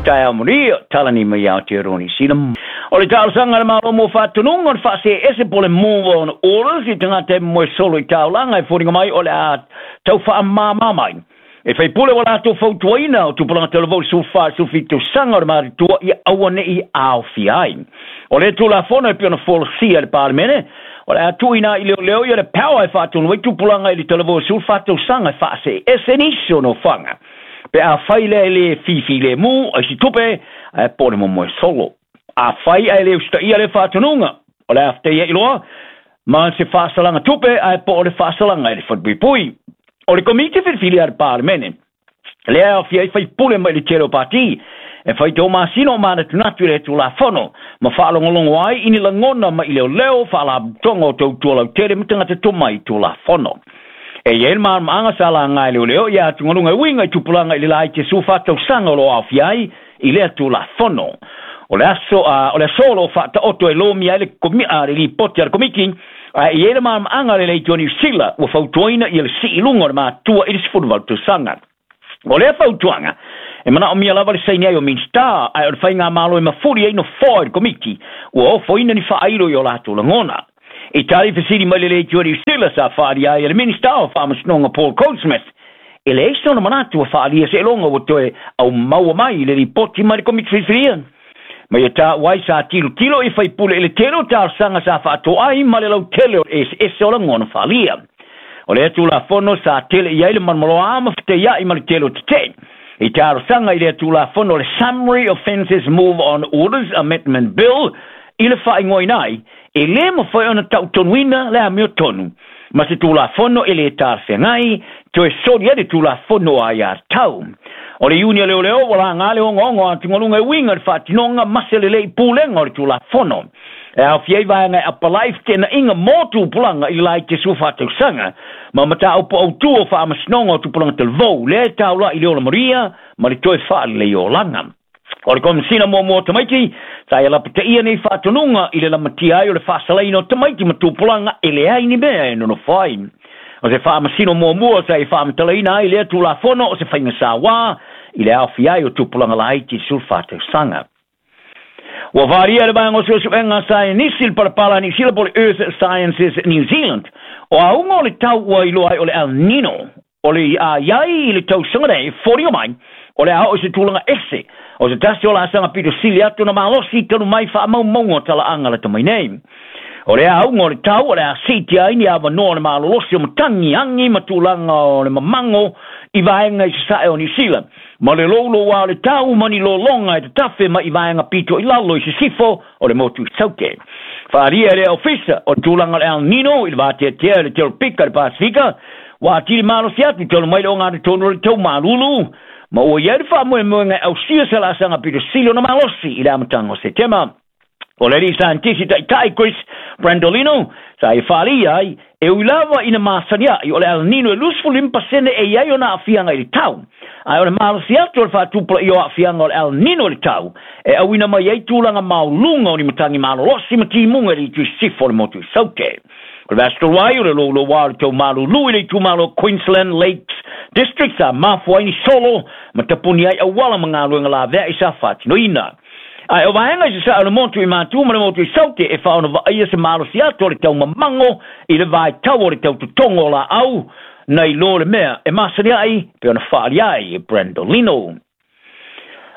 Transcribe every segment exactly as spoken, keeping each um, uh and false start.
Taeao manuia, talani mai Aotearoa Niu Sila. O le talosaga a le Malo mo faatonuga o le faaseese po o le move on orders i tagata e moe solo i taulaga e foliga mai o le a tau faamāmā mai. E faipule ua latou fautuaina o tupulaga talavou i le sefulufa i le sefulufitu tausaga o le matutua ia aua ne'i aofia ai. O le Tulafono e pei ona folasia e le Palemene, o le a tuuina ai i leoleo ia le power e faatonu ai tupulaga i le talavou sefulufa tausaga e faaseese nisi o nofoaga. Pe afai lea e le fifilemu ai se tupe ae po o le momoe solo. Afai ae le usitaia le faatonuga, o le a fetaia iloa ma se faasalaga tupe ae po o le faasalaga i le falepuipui. O le komiti filifili a le Palemene, lea e aofia ai faipule mai le tele o pati, e faitau masina o manatunatu i le Tulafono, ma faalogologo ai i ni lagona mai leoleo, faalapotopotoga o tautua lautele ma tagata tomai i Tulafono. E i ai le malamalamaaga sa laga e leoleo ia atugaluga e uiga i tupulaga i le laiti e sefulufa tausaga o lo o aofia ai i lea Tulafono. O le aso, uh, o le aso o lo o faataoto e lomia ai le, komi, uh, le lipoti a le komiti, ae i ai le malamalamaaga le leitio Niu Sila ua fautuaina ia le sii luga o le matua i le sefuluvalu tausaga. O lea fautuaga, e manaomia lava le saini ai o Minista, ae o le faigamalo e mafuli ai nofoa i le komiti, ua ofoina ni faailo i o latou lagona. I tali fesili mai le leitio Niu Sila sa faalia ai e le Minista o Faamasinoga Paul Goldsmith, e leai sona manatu ua faalia seeloga ua toe aumaua mai i le lipoti mai le komiti filifilia. Ma ia taua ai sa tilotilo i faipule i le tele o talosaga sa faatoa ai ma le lautele o le eseese o lagona faalia. O lea Tulafono sa tele i ai le malomaloa ma feteiai ma le tele o tetee. I talosaga i lea Tulafono o le Summary Offences Move on Orders Amendment Bill i le faaigoaina ai, e le mafai ona tautonuina le amiotonu ma se Tulafono e le talafeagai, toe soli ai le Tulafono a ia tau. O le Iuni a Leoleo ua laga le ogaoga o atugaluga e uiga i le faatinoga ma se lelei pulega o le Tulafono. E aofia ai vaega e apalai feteenaiga mo tupulaga i le laiti sefulufa tausaga ma mataupu autū o faamasinoga o tupulaga talavou lea e taula'i i le ola manuia ma le toe faalelei olaga. O le Komesina muamua o tamaiti, sa ia lapataia nei faatonuga i le lamatia ai o le faasalaina o tamaiti ma tupulaga e leai ni mea e nonofo ai. O se faamasino muamua sa i faamatalaina ai lea Tulafono o se faiga sauā i le aofia ai o tupulaga laiti i le sefulufa tausaga. Ua faaalia e le vaega o suesuega saienisi le palapala a Niu Sila po o le Earth Sciences New Zealand, o auga o le tau ua iloa ai o le El Nino, o le a iai i le tausaga nei, foliga mai, o le a oo i se tulaga ese, o se tasi o laasaga pito sili atu na malosi talu mai faamaumauga o talaaga lata mai nei. O le auga o le tau o le a siitia ai ni avanoa o le malolosi o matagi agi ma tulaga o le mamago i vaega i sasae o Niu Sila, ma le louloua o le tau ma ni lologa e tatafe mai i vaega pito i lalo i sisifo o le motu i Saute. Faaalia e le ofisa o tulaga o le El Nino i le vateatea i le Teropika i le Pasifika, ua atili malosi atu talu mai le ogatotonu o le tau malulu, ma ua i ai le faamoemoega e ausia se laasaga pito sili ona malosi i le amataga o Setema. O le alii saienitisi taitai Chris Brandolino sa e faaalia ai, e ui lava ina masani ai o le El Nino e luasefulu lima pasene e i ai ona aafiaga i le tau. Ae o le malosi atu o le faatupulaia o aafiaga o le El Nino i le tau, e auina mai ai tulaga maoluga o ni matagi malolosi ma timuga i le itu i sisifo o le motu i Saute. O le vaiaso talu ai o le louloua o le tau malulu i le itumalo Queensland Lakes District sa mafua ai ni solo ma tapuni ai auala ma galuega laveai sa faatinoina. Ae o vaega i sasae o le motu i Matu ma le motu i Saute e faaona vaaia se malosi atu o le tau mamago i le vaitau o le tau totogo o laau nai lo le mea e masani ai pe ona faaalia ai e Brandolino.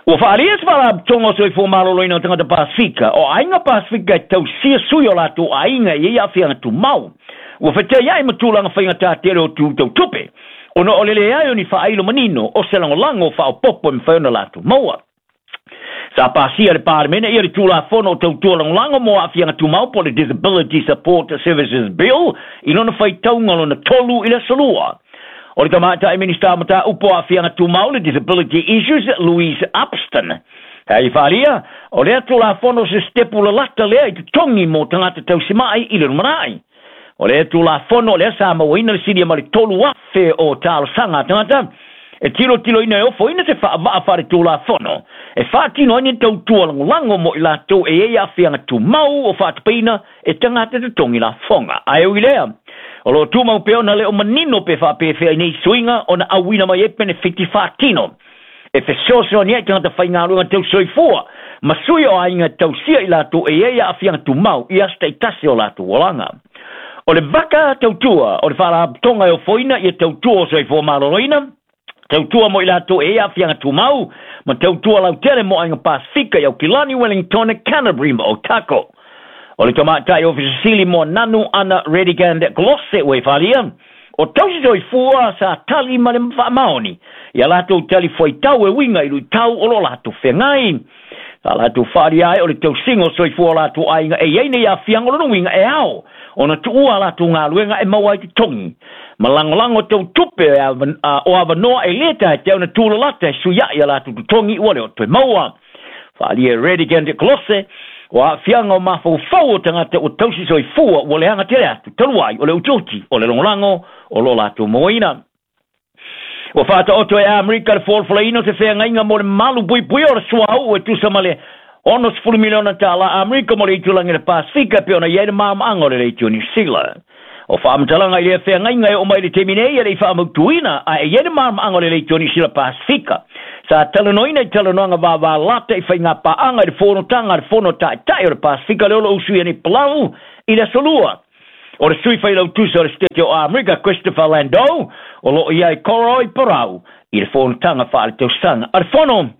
Ua faaalia se faalapotopotoga o soifua maloloina o tagata Pasifika, o aiga Pasifika e tausia sui o latou aiga e i ai aafiaga tumau. Ua feteiai ma tulaga faigata tele o tu tautupe, ona o le leai o ni faailo manino o se lagolago faaopoopo e mafai ona latou maua. Sa pasia e le Palemene ia le Tulafono o Tautua Lagolago mo Aafiaga Tumau po o le Disability Support Services Bill i lona faitauga lona tolu i le aso Lua. O le tamaitai Minista o Mataupu o Aafiaga Tumau le Disability Issues Louise Upston. Hei faaalia, o lea Tulafono se sitepu lalata lea i totogi mo tagata tausimai i le lumanai. O lea Tulafono lea sa mauaina le silia ma le tolu afe o talosaga a tagata, e tilotiloina e ofoina se faavaa faaletulafono e faatino ai ni tautua lagolago mo i latou e i ai aafiaga tumau o faatapaina e tagata totogi lafoga. Ae ui lea, o lo o tumau pea ona le o manino pe faapefea i nei suiga ona auina mai ai penefiti faatino. E fesoasoani ai tagata faigaluega tausoifua ma sui o aiga tausia i latou e iai aafiaga tumau i aso taitasi o latou olaga. O le vaka tautua o le faalapotopotoga e ofoina ia tautua o soifua maloloina, tautua mo i latou e iai aafiaga tumau, ma tautua lautele mo aiga Pasifika i Aukilani, Wellington, Canterbury ma Otago. O le tamaitai ofisa sili mo Nanu Ana Redigand Glosse ua e falia, o tausi soifua sa tali ma le faamaoni ia latou tali fuaitau e uiga i luitau o lo latou feagai. Sa latou faaalia ai o le tausiga o soifua o latou aiga e iai nei aafiaga o lona uiga e ao ona tuua a latou galuega e maua ai totogi ma lagolago tautupe o avanoa e lē taetea ona tulalata e suiaʻi a latou totogi ua le o toe maua. Faaalia e Redigand Glosse o aafiaga o mafaufau o tagata ua tausi soifua ua leaga tele atu talu ai o le utiuti o le lagolago o lo latou mauaina. Ua faataoto e Amerika le folafolaina o se feagaiga mo le malu puipuia o le suauu e tusa ma le onosefulu miliona tālā Amerika mo le itulagi le Pasifika pe ona iai le maamaaga o le leitio Niu Sila. O faamatalaga i lea feagaiga e oo mai le taimi nei e le'i faamautuina ae iai le maamaaga o le leitio Niu Sila Pasifika. Sa talanoaina i talanoaga vavalata i faigapaaga i le fonotaga a le fono taʻitaʻi o le Pasifika le olo usuia nei Palau i le aso lua. O le sui failautusa o le Setete o Amerika Christopher Landau o loo iai Koroi Parau i le fonotaga faaletausaga a le fono.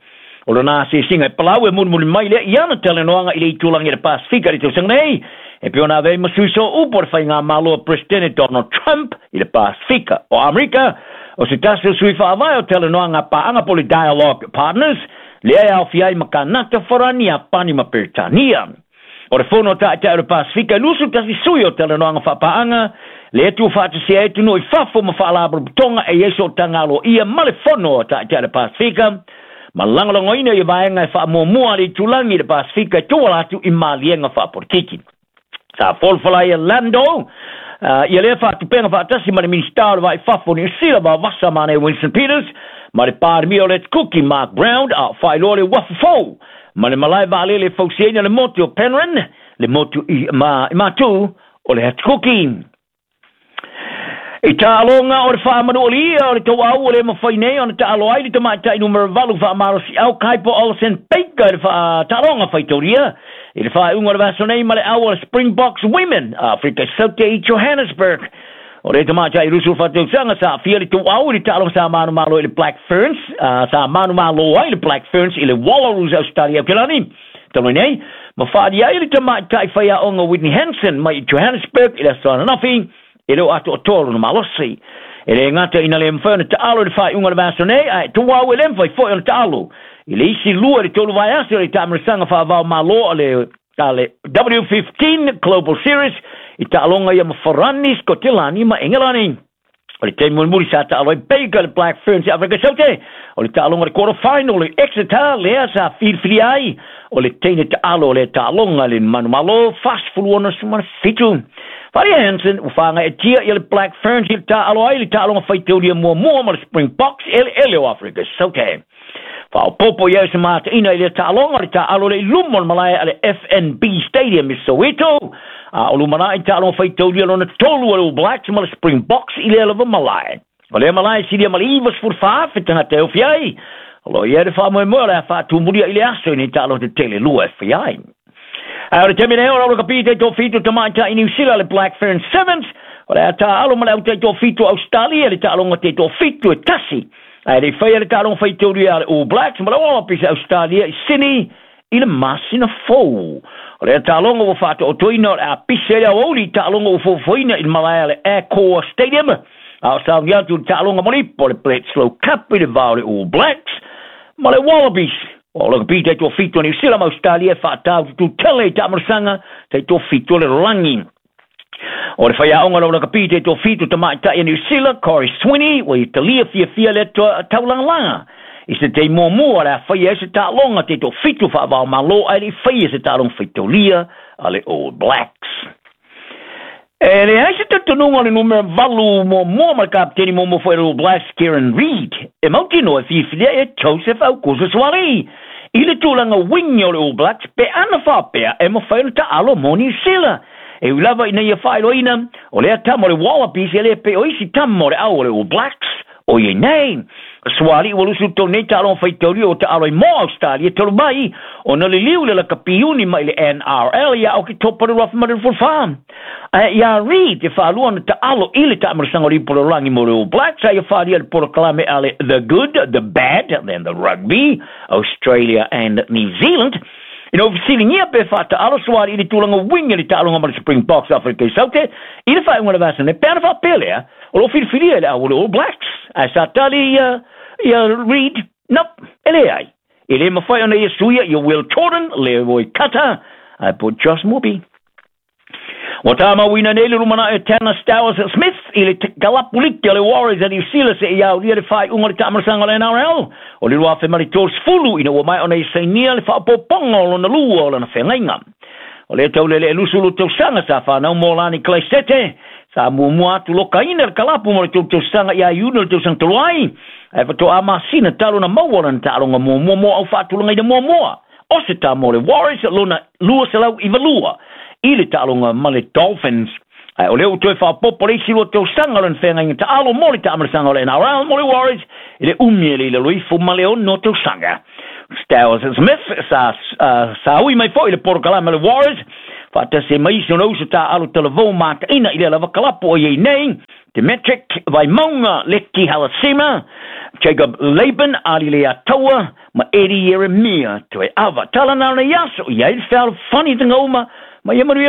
O lona asiasiga e Palau e mulimuli mai lea i ana talanoaga i le itulagi i le Pasifika i le tausaga nei e pei ona avea ai ma sui sooupu o le faigamalo a Peresetene Donald Trump i le Pasifika. O Amerika o se tasi o sui faavae o talanoaga paaga po le Dialogue Partners lea e aofia ai ma Kanata, Farani, Iapani ma Peretania. O le fono taʻitaʻi o le Pasifika e lusu tasi sui o talanoaga faapaaga lea tuufaatasia ai atunuu i fafo ma faalapotopotoga e iai sootaga aloaia ma le fono o taʻitaʻi o le Pasifika ma lagolagoina ia vaega e faamuamua a le itulagi i le Pasifika e tuala atu i maliega faapolitiki. Sa folafola ai e Lando uh, ia lea faatupega faatasi ma le Minisita o le Vaifafo o Niu Sila Vavasa Mane Winston Peters ma le Palemia o le Kuki Mark Brown a o faailoa le uafu fou ma le malae vaalele e fausiaina le motu o Penrhyn, le motu i, ma, i matū o le Atukuki. I taaloga o le faamanualia o le tauau o le mafai nei ona taalo ai le tamaitai numera valu faamalosiau Kaipo Olsen Baker i le faataaloga faitaulia i le faaiuga o le vaiaso nei ma le au o le Springboks Women a Afrika Saute i Johannesburg. O le tamaitai lusu faatausaga sa aafia le tauau i le taaloga sa manumalo i le Black Ferns, uh, sa manumalo ai le Black Ferns i le Wallaroos Australia Aukelani talu ai nei ma faalia ai le tamaitai faiaoga Whitney Hansen mai i Johannesburg i le aso ananafi e le o atoatoa lona malosi. E le gata ina le mafai ona taalo i le faaiuga o le vaiaso nei, ae tuau e le mafai foi ona taalo i le isi lua i le tolu vaiaso o le taamilosaga faavao malo a le a le W fifteen Global Series i taaloga ia ma Farani, Skotilani ma Engelani. O le taimi mulimuli sa taalo ai Baker le Black Ferns i Afrika Saute o le taaloga o le quarter final i Exeter lea sa filifilia ai o le teine taalo o le taaloga le manumalo fasefulu ono sefulu ma fitu. Faria Hansen ua faagaeatia ia le Black Ferns i le taalo ai le taaloga faitaulia muamua ma le Springboks eleele o Afrika Saute. Faaopoopo i ai se mataina i lea taaloga o le taalo le i luma o le malae a le F N B Stadium i Soweto a o lumanai taaloga faitaulia lona tolu o le All Blacks ma le Springboks i lea lava malae. O lea malae silia ma le ivasefulu fa afe tagata e ofi ai. O lo iai le faamoemoe o le a faatumulia i le aso i nei taaloga tetele lua e fai ai. Ae o le taimi nei o le kapi taitoafitu tamaitai Niu Sila le Black Ferns Sevens o le a taalo ma le au taitoafitu Australia le taaloga taitoafitu e tasi. Ae le faia le taaloga faitaulia a le All Blacks ma le Wallabies Australia i Sydney i le masina fou. O le taaloga ua faataotoina o le a pise le aoauli i taaloga ua fofoina i le malae a le Accor Stadium. A o sauni atu le taaloga molipo le Bledisloe Cup i le vao le All Blacks ma le Wallabies. O le kapi taitoafitu a Niu Sila ma Australia e faatau tutele i taamilosaga taitoafitu o le lalagi. O le faiaoga o le kapi taitoafitu tamaitai a Niu Sila, Corey Sweeney, ua italia fiafia le taulagalaga i se taimi muamua o le a faia ai se taaloga taitoafitu faavao malo ae le'i faia se taaloga faitaulia a le All Blacks. E leai se talitonuga o le numera valu muamua ma le kapiteni muamua foi o le All Blacks Kieran Reid e mautinoa e fiafilia e Joseph Aukuso Suaalii i le tulaga wing o le All Blacks pe ana faapea e mafai ona taalo mo Niu Sila. E ui lava ina ia faailoaina o lea tama o le Wallabies e le pe o isi tama o le au o le All Blacks O iai nei suali ua lusu tolu nei taaloga faitaulia o taalo ai mo Australia talu mai ona liliu le lakapiuni mai le N R L ia Oketopa le afe ma le dufulufa. Ae iā Reid e faalua ona taalo i le taamalasaga o le ipu lalolagi mo le All Blacks, a ia faalia le polokalame a le The Good, The Bad and The Rugby Australia and New Zealand. Ina ua fesiligia pe faataalo suali i le tulaga uiga i le taaloga ma le Springboks Afrika i Saute i le faaiuga o le vasa nei, pe ana faapea lea o loo filifilia e le au o le All Blacks. Ae sa tali ia ia Reid, nope, e leai. E le mafai ona ia suia ia Will Jordan, Leroy Cutter, ae po Josh Moorby. Ua tāmauina nei le lumanai o Tanner Stowers Smith i le kalapuliki o le Warriors a New Zealand seia aulia le faaiuga o le taamalasaga o le N R L o le lua afe ma le tolusefulu ina ua mai ona ia sainia le faaopoopoga o lona lua o lana feagaiga. O lea taulele e lusulu tausaga sa fanau mo Lani Klaisete sa muamua atu lokaina le kalapu mo le tolu tausaga ia Iuni o le tausaga talu ai, ae faatoa masina talu na maua lana taaloga muamua mo au faatulagaina muamua o se tā mo le Warriors lona lua selau iva lua i le taaloga ma le Dolphins. Ae o lea ua toe faaopoopo le isi lua tausaga o lana feagaiga taalo mo le taamalasaga o le N R L mo le Warriors i le umi e le i lalo ifo ma le ono tausaga. Stowers Smith sa, uh, sa ui mai foi le polokalame o le Warriors faatasi mai isi ona uso taalo talavou mataina i le lava kalapu o iai nei Demetric Vaimauga, Leki Halasima, Jacob Laban, Ali Leataua, ma Eddie Jeremia toe ava. Tala na ona iaso, iai le fealofani tagauma, ma ia manuia.